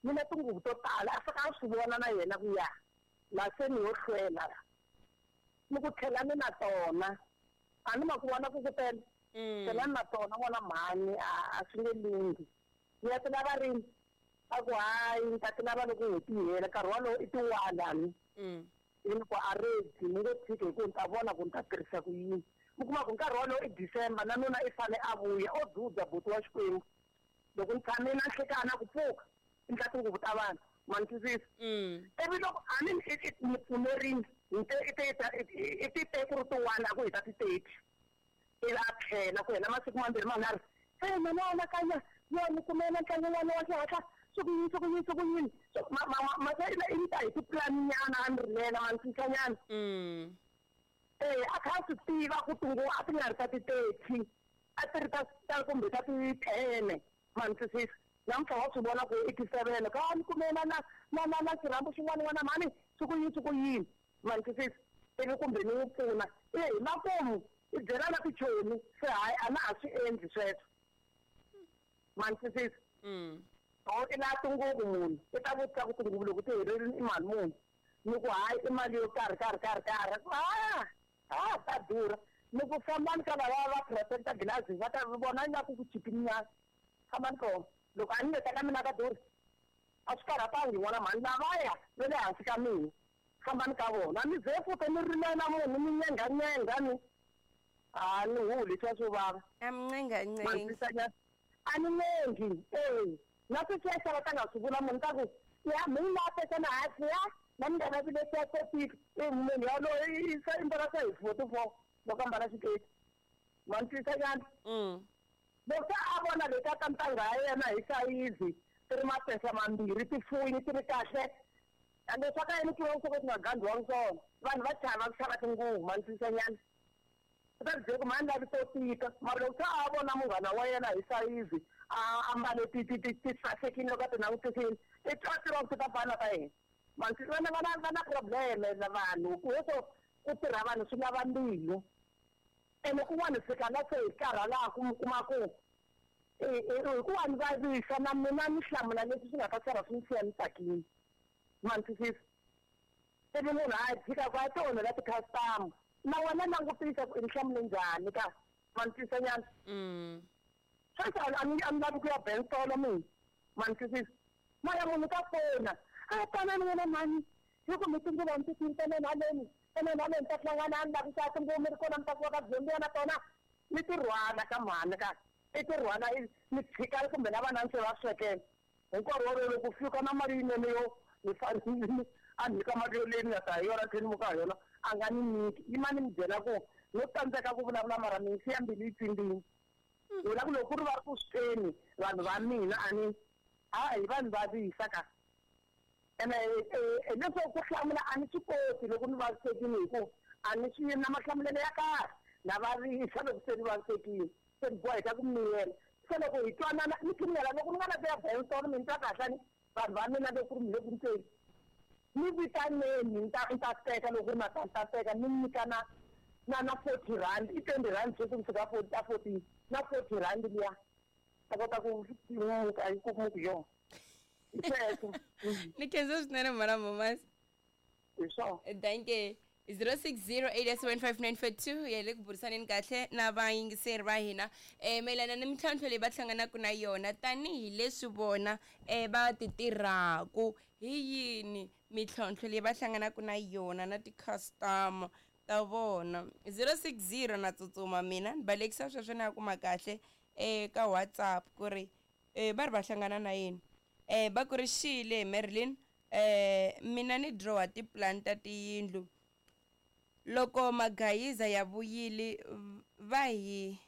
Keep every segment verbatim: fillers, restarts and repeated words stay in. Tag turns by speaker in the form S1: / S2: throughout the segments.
S1: Ni na tinguvu to tala a fika a swi vona na yena ku ya la se ni yo hlwela ni ku tlhela ni na tona a ni ma ku vona ku ku tele tlhela ni na tona n'wana mhani a swi nge lunghi ni ya ti lava rini a ku hayi ni ta ti lava loko n'hweti yi hela nkarhi wolowo i tiwani ni ku a ready ni ngo tshiki hi ku ni ta vona ku ni ta tirhisa ku yini mi kuma ku nkarhi wolowo i December na nuna i fane a vuya o dzudza buti wa Xikwembu loko ni tshamile na nhlekana ku pfuka i ndla tinguvu ta vanhu ma ni twisisa ivi loko a ni ni pfumerini ni te i te i ti te ku ri tiwani a ku hi ta ti thirty ivi a tlhela ku hela masiku mambirhi manharhu se mina anakanya yo ni kumela ntlangu n'wana wa xihatla swi ku yini swi ku yini swi ku yini mase i ni ta hi tipulani nyana a ni rilela ma ni twisisa eh a kha swi tiva ku tinguvu a ti nga ri ta ti-thirty a ti ri ta ta kumbe ta ti-ten ma ni twisisa namuntlha wa swi vona ku i ti-seven ka ni kumela na na na na xirhambo xin'wana n'wana mhani swi ku yini swi ku yini ma ni twisisa ivi kumbe ni n'wi pfuna i hi makumu i byela na tichomi se hayi a na ha swi endli sweswo ma ni twisisa o i la tinguvu munhu i ta vutisa ku tinguvu loko ti hererini i mali muni ni ku hayi i mali yo karhi karhi karhi karhi a a ta durha ni ku fambani ka lava va protecta glass va ta vona ingaku ku chipini nyana fambani kona loko a ni leta ka mina ka durha a swi karhatangi n'wana mhani lavaya va le hansi ka mina fambani ka vona ni ze futhi ni rilela munhu ni nyenganyenga ni a ni huli swa swo vava
S2: a mi ncengancengi
S1: a ni ncengi e na sweswiya va ta nga swi vula munhu ta ku ya mi la tekana hansi ya na mi nga lavi leswiya swo tika i munhu yaloye i se i mbala se hi forty four loko a mbala xiketi ma ni twisisa nyana loko se a vona leti ta ntangha ya yena hi sayizi ti ri mapesa mambirhi ti fuwini ti ri kahle ende swa ka yini ku swo ka swi nga gandhiwangi swona vanhu va chava ku xava tinguvu ma ni twisisa nyana u ta byela ku mhani lavi to tika mara loko se a vona munghana wa yena hi sayizi a ambale ti ti ti ti sasekile loko a ti langutisile i twa tiva ku ti ta fana ta yena ma ni vana va na va na probleme na vanhu ku leswo ku tirha vanhu swi lava mbilu ene kun'wana fika la se hi karhalaku mi kuma ku hikuva ni vavisa na mina ni hlamula leswi swi nga ta sala swi ni siya ni tsakile ma ni twisisa ivi munhu a tshika ku a ti onhela ti-customer na wena langutisa ku i ni hlamule njhani ka ma ni twisisa nyana sweswi a ni a ni lavi ku ya bentolo mina ma ni twisisa mara munhu ka fona a tanani n'wina mhani hi ku mi tinguva ni ti tini tanani haleni tanani haleni ta hlangana a ni lavi xa tinguva mi ri kona mi ta kuva ka byondziya na tona ni ti rhwala ka mhani ka i ti rhwala ni tshika kumbe na vana ni se va swekela hi nkarhi wolowo loko fika na mali yinene yo ni fanele a nyika mali yo leyi ni nga ta hi yona tlhela ni muka hi yona a nga ni nyiki yima ni mi byela ku no tsandzeka ku vulavula mara mi siya mbilu yi tsimbini vula ku loko ku ri va ri ku switeni vanhu va mina a ni a hi vanhu vavisa ka ene leswo ku hlamula a ni swi koti loko ni vavisekile hi ku a ni swi na mahlamulelo ya kahle na vavisa loko se ni vavisekile se ni boheka ku miyela se loko hi twanana ni pfumela loko ni nga la ku ya bensolo mi ni twa kahle ni vanhu va mina loko ku ri mi le ku ntseni ni vitaneni ni ta ni ta teka loko ku ri mata ni ta teka ni nyika na na na forty rand i twenty rand sweswi ni fika forty ta fourteen na forty rand liya ta kota ku muka yi ku muku yona hi sweswo
S2: ni khensa swinene mhana Momasi
S1: hi swona
S2: danke zero six zero eight seven five nine four two ya le ku burisaneni kahle na vayingiseri va hina um mayelana ni mintlhontlho leyi va hlanganaka na yona tanihileswi vona um va ti tirhaku hi yini mintlhontlho leyi va hlanganaka na yona na ti-customer ta vona zero six zero na tsutsuma mina ni balekisa sweswo ni ya kuma kahle eka WhatsApp ku ri um va ri va hlangana na yini um va ku ri xile Marilyn um mina ni dirowa tipulani ta tiyindlu loko magayiza ya vuyile va hi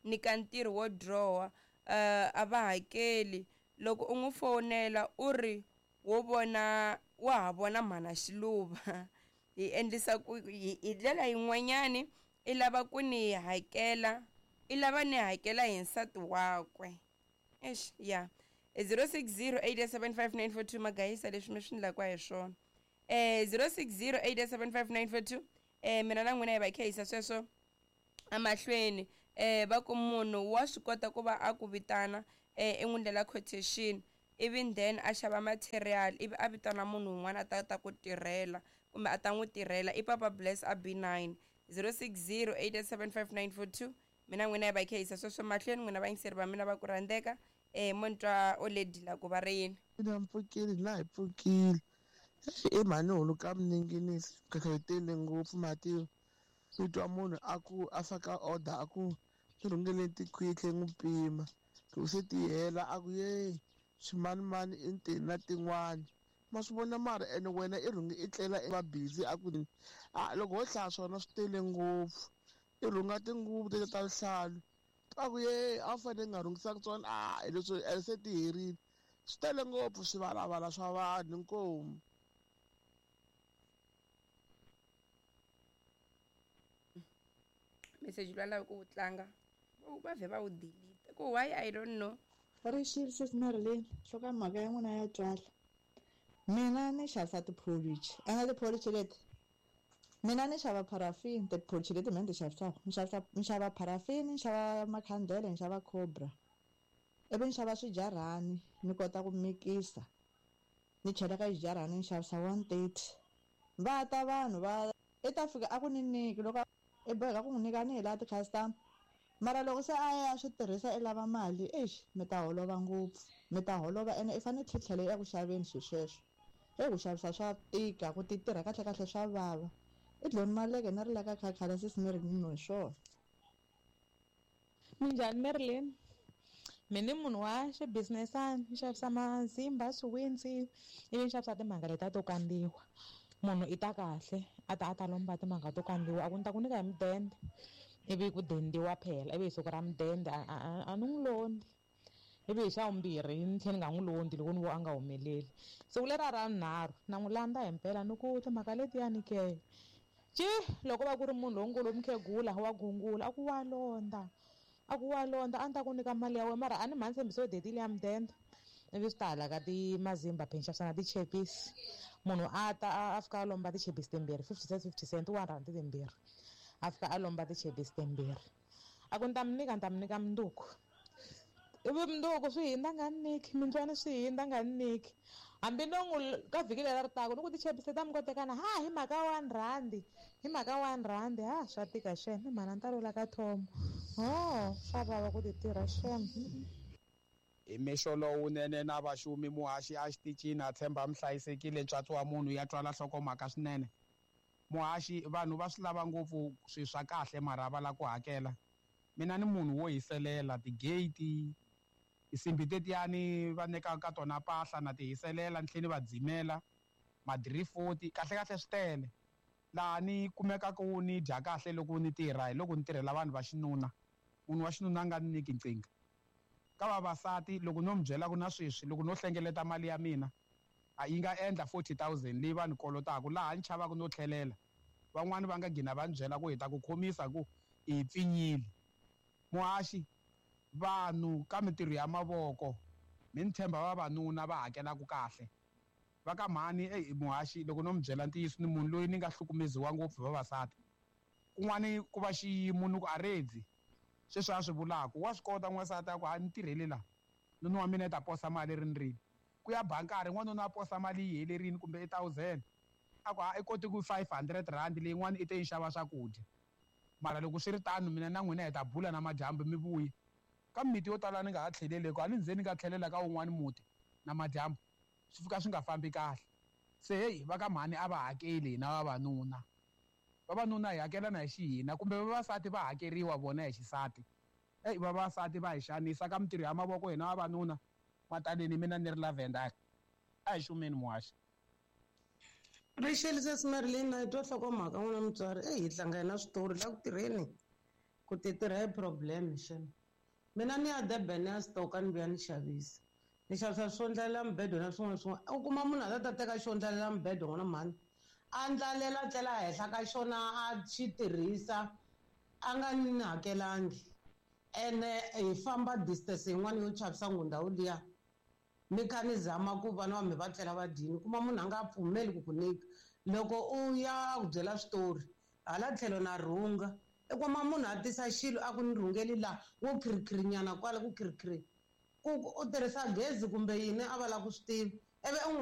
S2: nyika ntirho wo dirowa uh, a va hakeli loko u n'wi fonela u ri wo vona wa ha vona mhana xiluva hi endlisa ku hi ndlela yin'wanyani i lava ku ni hakela i lava ni hakela hi nsati wakwe eish ya zero six zero eight seven five nine four two magayisa leswi mi swi ndlaka hi swona eh zero six zero eight seven five nine four two eh mina na n'wina hi va khehisa sweswo emahlweni eh va ku munhu wa swi kota ku va a ku vitana eh i n'wi ndlela quotation Even then a xava material ivi a vitana munhu un'wana a ta ta ku tirhela kumbe a ta n'wi tirhela. I Papa Bless a B nine zero six zero eight seven five nine four two. Mina n'wina hi va hi kha hi yisa sweswo mahlweni, n'wina vayingiseri va mina va ku rhandzeka. Eh mo ni twa already la ku va ri yini.
S3: Mina mpfukile na hi pfukile. I mhani hulu ka mininginisi khekhe yi tele ngopfu mati. U twa munhu a ku a faka order a ku ni rhungele tikhwitli n'wi pima. Loko se ti hela a ku ye swimanimani i ntini na tin'wani. Ma swi vona mara ene wena i rhunge i tlela i va busy a ku a loko ho hlaya swona swi tele ngopfu. I rhunga tinguvu tete ta vuhlalu. A ku ye a wu fanele nga rhungisanga tsona a hi leswi se ti herile. Swi tele ngopfu swivalavala swa vanhu inkomu.
S2: Message lowu lava ku wu tlanga va vhe va wu delete ku why I don't know.
S4: Rixile sesi Marilyn, hloka mhaka ya n'wina ya twala. Mina ni xavisa tipholichi, ene tipholichi leti mina ni xava paraffin, tipholichi leti mina ni ti xavisaka ni xavisa ni xava paraffin, ni xava makhandlele, ni xava cobra, ivi ni xava swijarhani ni kota ku mikisa ni chela ka xijarhani ni xavisa one thirty. Va ta vanhu va i ta fika a ku ni nyiki loko i boheka ku n'wi nyika ni hi laha ti-customer, mara loko se a ya swi tirhisa i lava mali, exi mi ta holova ngopfu, mi ta holova ene i fanele tlhetlhela eku xaveni swilo sweswo. Eku xavisa swa tika, ku ti tirha kahle kahle swa vava. I dloni maleke na ri la ka khakhala sesi mi ri ni swona.
S5: Minjhani Marilyn? Mina ni munhu wa xibusinessana, ni xavisa mazimba, swiwintsi, ivi ni xavisa timanga letiya to kandziwa. Munhu i ta kahle a ta a ta lomba timanga to kandziwa, a ku ni ta ku nyika hi mudende, ivi ku dendiwa phela, ivi hi siku ra mudende a a a ni n'wi londzi, ivi hi xa vumbirhi ni tlhela ni nga n'wi londzi loko ni vo a nga humeleli. Siku leriya ra vunharhu na n'wi landza himpela ni ku timhaka letiyani ke ci loko va ku ri munhu lonkulu mukhegula wa gungula a ku wa londza, a ku wa londza a ni ta ku nyika mali ya wena mara a ni mhani tshembiso detile ya mudende. Ivi swi ta hala ka timazimba phe ni xavisa na tichepisi, munhu a ta a fika a lomba tichepisi timbirhi fifty cents fifty cents one rand timbirhi, a fika a lomba tichepisi timbirhi, a ku ni ta mi nyika ni ta mi nyika mundzuku, ivi mundzuku swi hindza nga ni nyiki, mintlwani swi hindza nga ni nyiki, hambi no n'wi ka vhiki leri ri taka ni ku tichepisi ta mi kotekana ha hi mhaka one rand, hi mhaka one rand, ha swa tika xem, i mhana ni ta lula ka Tom, ho swa vava ku ti tirha xem.
S6: Hi mixo lowunene na vaxumi muhaxi a xitichini a tshemba mi hlayisekile ntswatsi wa munhu ya twala nhlokomhaka swinene. Muhaxi vanhu va swi lava ngopfu swilo swa kahle mara va lava ku hakela. Mina ni munhu wo hiselela ti-gate, tinsimbi tetiyani va nyikaka ka tona mpahla na ti hiselela ni tlhela ni va dzimela madirifoti, kahle kahle swi tele. Laha ni kumekaka ni dya kahle loko ni tirha hi loko ni tirhela vanhu va xinuna, munhu wa xinuna a nga ni nyiki nkingha. Ka vavasati loko no mi byela ku na sweswi loko no hlengeleta mali ya mina a yi nga endla forty thousand leyi va ni kolotaka, laha ni chavaka no tlhelela van'wani va nga gina va ni byela ku hi ta ku khomisa ku i pfinyile. Muhaxi vanhu ka mintirho ya mavoko mi ni tshemba vavanuna va hakelaka kahle. Va ka mhani eyi muhaxi loko no mi byela ntiyiso ni munhu loyi ni nga hlukumeziwa ngopfu hi vavasati, kun'wani ku va xiyimo ni ku aredzi sweswi a swi vulaka wa swi kota n'wansati a ku a ni tirheli laha nuna wa mina i ta posa mali rini rini, ku ya bankari n'wanuna a posa mali yi helerile kumbe i thousand a ku a i koti ku five hundred rand leyin'wana i te yi xava swakudya. Mara loko swi ri tano mina na n'wina hi ta bula na madyambu mi vuya. Ka mimiti yo tala ni nga ha tlheleli a ni ze ni nga tlhelela ka wun'wani muti na madyambu swi fika swi nga fambi kahle. Se heyi va ka mhani a va hakeli hina vavanuna, vavanuna hi hakela na hi xihina kumbe vavasati va hakeriwa vona hi xisati. Eyi vavasati va hi xanisa ka mintirho ya mavoko hina vavanuna mataleni mina ni ri Lavender a hi xumeni muhaxi.
S7: Rixile sesi Marilyn, hi twa nhlokomhaka n'wina mutswari, eyi hi tlanga hi na switori la ku tirheni ku ti tirha hi problem xem. Mina ni ya Durban ni ya stoka ni vuya ni xavisa, ni xavisa swo ndlalela mibedo na swin'wana swin'wana, u kuma munhu a ta ta teka xo ndlalela mibedo n'wana mhani a ndlalela tlela henhla ka xona a xi tirhisa a nga ni hakelangi, ene hi famba distance yin'wana yo chavisa ngopfu ndhawu liya mi kha ni zama ku vana va mi va tlela va dyini, kuma munhu a nga pfumeli ku ku nyika loko u ya ku byela switori hala tlhelo na rhunga, i kuma munhu a tisa xilo a ku ni rhungeli laha wo khirikhirinyana kwala ku khirikhiri Ku u tirhisa gezi kumbe yini a va lava ku swi tiva ivi u n'wi.